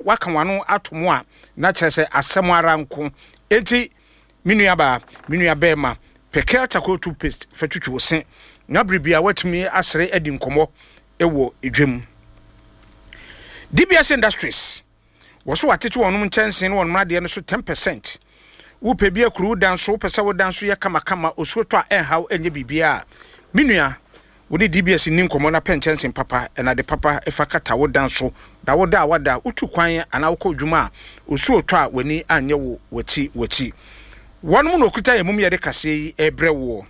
waka w'ano ato mu a, na kyerɛ sɛ asɛm ara nko. Enti me nuabaa, me nua bɛrima, pɛ Kel charcoal toothpaste fa twitwi wo se na bere biara woatumi asere adi nkɔmmɔ wɔ dwam. DBS Industries, wɔ so wɔatete wɔn nkyɛnsee ne wɔn adeɛ no so 10%. Wopɛ bi akuru wo dan so, wopɛ sɛ wo dan so yɛ kamakama, osuo tɔ a ɛnhaw ɛnyɛ biribiara a, me nua, wo ne DBS nni nkɔmmɔ na pɛ nkyɛnsee papa na ade papa fa kata wo dan so. Na wo da a woada, wotu kwan anaa wokɔ dwuma a, osuo retɔ a w'ani anyɛ wo w'akyi w'akyi. Wɔnom na wɔkuta yɛn mum yɛde kaseɛ yi rebrɛ woɔ.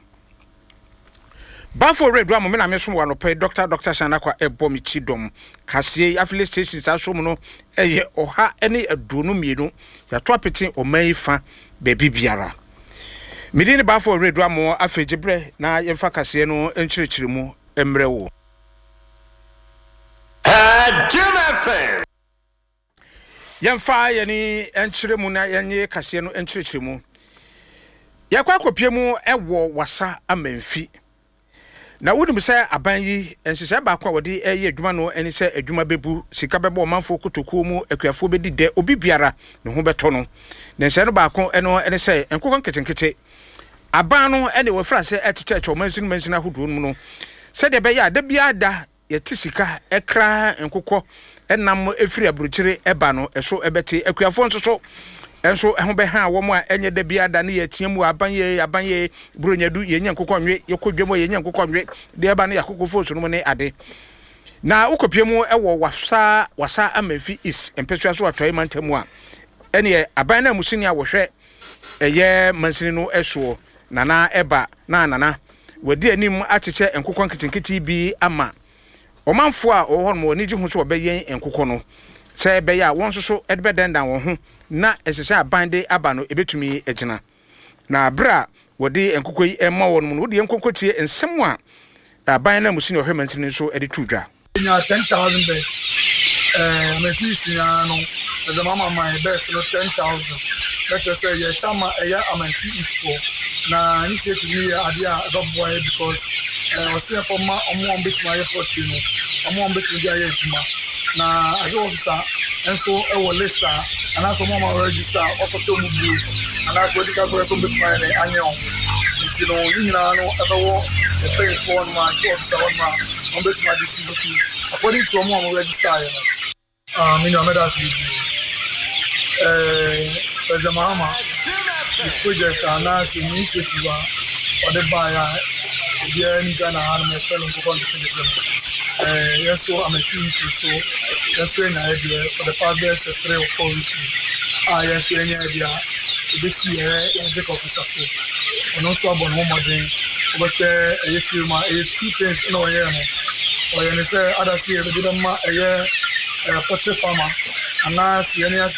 Bafo Owura Aduamoh me na mesom wɔ anɔpa yi, Dɔkta Dɔkta Shan Akwa ɛbɔ me ti dɔm. Kaseɛ yi affiliate stations aso mu no ɛyɛ 122. Yɛato apete ɔman yi fa baabi biara. Me din ne Bafo Owura Aduamoh, afei gye berɛ na yɛmfa kaseɛ no nkyerɛkyerɛ mu mmerɛ wo. Jim FM. Yɛmfa yɛn ani nkyerɛ mu na yɛnyɛ kaseɛ no nkyerɛkyerɛ mu. Yɛkɔ akɔpie mu wɔ Wassa Amanfi. Na wonim sɛ aban yi, nhyehyɛe baako a wɔde reyɛ adwuma no ne sɛ adwuma bɛbu, sika bɛbɔ ɔmanfoɔ kotokuo mu, akuafoɔ bɛdi dɛ, obi biara ne ho bɛtɔ no. Ne nhyehyɛe no baako no ne sɛ nkokɔ nketenkete aban no ne wɔafiri ase rekyekyɛkyɛ ɔmansin mansin ahodoɔ no mu no sɛdeɛ ɛbɛyɛ a da biara da yɛte sika kra nkokɔ nam firi aburokyire ba no so bɛte. Akuafoɔ nso so nso ho bɛha wɔn a ɛnyɛ da biara da ne yɛteɛ mu aban yɛ aban yɛ buronya du yɛnya nkokɔ nwe yɛkɔ dwam a yɛnya nkokɔ nwe deɛ ɛba no yɛ akokɔ fo so no mu ne ade. Na wokɔpie mu wɔ Wassa Wassa Amanfi East mpɛsoa so atɔe mantam mu a ɛneɛ aban no amusini a wɔhwɛ ɛyɛ mansini no soɔ Nana ɛba na Nana wadi anim akyekyɛ nkokɔ nketenkete bi ama ɔmanfoɔ a wɔwɔ hɔnom. Wɔn ani gye ho sɛ wɔbɛyɛn nkokɔ no sɛ ɛbɛyɛ a wɔn nso so de bɛdandan wɔn ho na nhyehyɛe a aban de aba no ɛbɛtumi agyina. Na berɛ a wɔde nkokɔ yi rema wɔn no, wodeɛ nkɔnkɔtie nsɛm a aban nanmusini a ɔhwɛ mansini no nso de too dwa. Yɛnyaa 10,000 birds. Eh, Amanfi East nyinaa no, yɛdze ma ama man birds no 10,000. Na kyerɛ sɛ yɛrekyɛ ama ɛyɛ Amanfi East foɔ. Na initiative no yɛ adeɛ a ɛbɛboa yɛ because eh, ɔse yɛmfa mma ɔmo a wɔbɛtumi ayɛ poultry no, ɔmo a wɔbɛtumi de ayɛ adwuma. Na agric officer nso wɔ list a anaasɛ ɔmo a wɔn register a wɔakɔtɔ ɔmo buo anaasɛ wɔadi ka kɔyɛ sɛ wɔbɛtumi ayɛ dɛn anyɛ ɔmo. Nti no ne nyinaa no ɛbɛwɔ mpanyinfoɔ hɔnom a agric officer hɔnom a wɔn bɛtumi a distribute according to wɔn a wɔn register yɛ no. Ah, me nua mɛda ase bebree. Eh, President Mahama, ne project anaasɛ initiative a ɔde baeɛ a obiara ni Ghana ha no yɛfrɛ no nkokɔ nketenkete no. Eh, yɛn nso Amanfi East nso, yɛn nso yɛnya yɛ deɛ for the past bɛyɛ sɛ 3 or 4 weeks ni a yɛn nso yɛnya yɛ deɛ a ɛbɛsi yɛ yɛn district officer so. Ɔno nso abɔ ne ho mmɔden wobɛhwɛ ɛyɛ fie mu a ɛyɛ two things na ɔyɛɛ no. Ɔyɛ ne sɛ adase yɛde bɛma ɛyɛ poultry farmer anaasɛ yɛne aka.